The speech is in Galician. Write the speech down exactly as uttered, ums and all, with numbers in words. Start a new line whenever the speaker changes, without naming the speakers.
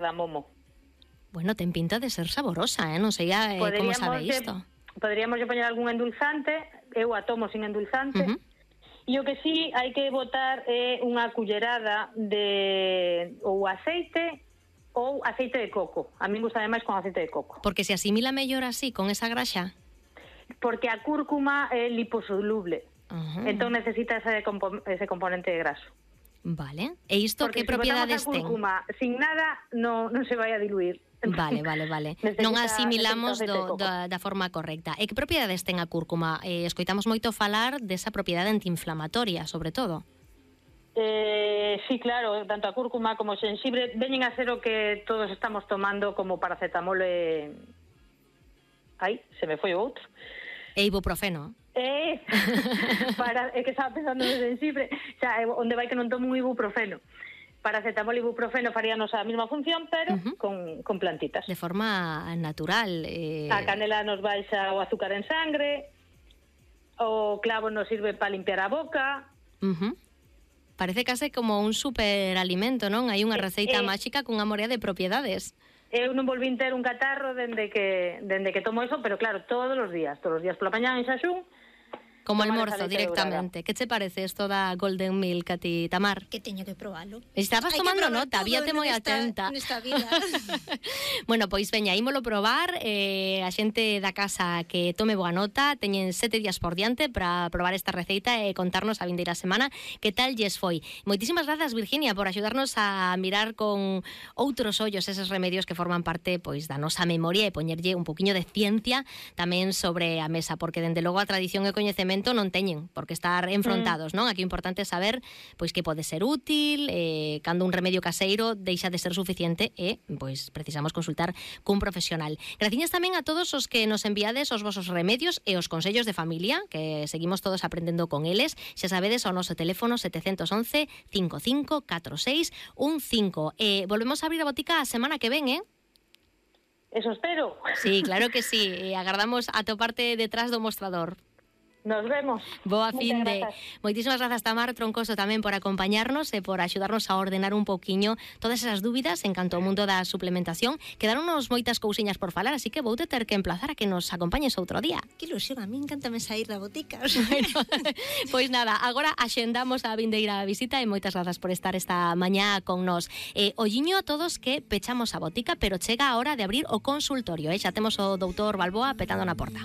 cardamomo.
Bueno, ten pinta de ser saborosa, eh? Non sei eh, como sabe isto.
Poderíamos poñer algún endulzante, eu a tomo sin endulzante, uh-huh. E o que sí hai que botar é unha cullerada de ou aceite ou aceite de coco. A mí me gusta máis con aceite de coco.
Porque se asimila mellor así, con esa graxa?
Porque a cúrcuma é liposoluble. Uh-huh. Entón necesita ese, compo- ese componente de graso.
Vale. E isto que propiedades ten?
Porque se botamos a cúrcuma sin nada non, non se vai a diluir.
Vale, vale, vale. Non asimilamos do, da, da forma correcta. E que propiedades ten a cúrcuma? Eh, escoitamos moito falar desa propiedade antiinflamatoria, sobre todo.
Eh, sí, claro, tanto a cúrcuma como o xenxibre veñen a ser o que todos estamos tomando como paracetamol e... Ai, se me foi o outro.
E ibuprofeno.
Eh, para, é que estaba pensando no xenxibre, xa, onde vai que non tomo un ibuprofeno. Paracetamol e ibuprofeno faríanos a mesma función, pero uh-huh. con, con plantitas.
De forma natural. Eh...
A canela nos baixa o azúcar en sangre, o clavo nos sirve para limpiar a boca.
Uh-huh. Parece case como un superalimento, non? Hai unha receita
eh,
máxica cunha morea de propiedades.
Eu non volvín ter un catarro dende que, dende que tomo eso, pero claro, todos os días, todos os días pola mañá en xaxún.
Como almorzo directamente. Que che parece isto da Golden Milk a ti, Tamar?
Que teño que probalo.
Estabas Hay tomando nota, víate moi atenta.
Nesta vida.
Bueno, pois veña, ímolo probar. Eh, a xente da casa que tome boa nota, teñen sete días por diante para probar esta receita e contarnos a vindeira semana que tal lles foi. Moitísimas grazas, Virginia, por axudarnos a mirar con outros ollos eses remedios que forman parte pois da nosa memoria e poñerlle un poquiño de ciencia tamén sobre a mesa, porque dende logo a tradición e coñecemento non teñen por que estar enfrontados, mm. non? Aquí o importante é saber pois que pode ser útil, eh, cando un remedio caseiro deixa de ser suficiente e pois precisamos consultar cun profesional. Graciñas tamén a todos os que nos enviades os vosos remedios e os consellos de familia, que seguimos todos aprendendo con eles. Xa sabedes o noso teléfono sete once, cinco cinco catro seis un cinco. E volvemos a abrir a botica a semana que ven, eh?
Eso espero.
Sí, claro que sí. E agardamos a toparte detrás do mostrador.
Nos vemos.
Boa fin de. Moitísimas grazas, Tamar Troncoso, tamén por acompañarnos e por axudarnos a ordenar un pouquiño todas esas dúbidas en canto ao mundo da suplementación. Quedaronnos moitas cousiñas por falar, así que vou ter que emplazar a que nos acompañes outro día.
Que ilusión, a mí encántame sair da botica.
Bueno, pois nada, agora axendamos a vindeira visita e moitas grazas por estar esta mañá con nós. Eh, olliño a todos que pechamos a botica, pero chega a hora de abrir o consultorio, eh? Xa temos o doutor Balboa petando na porta.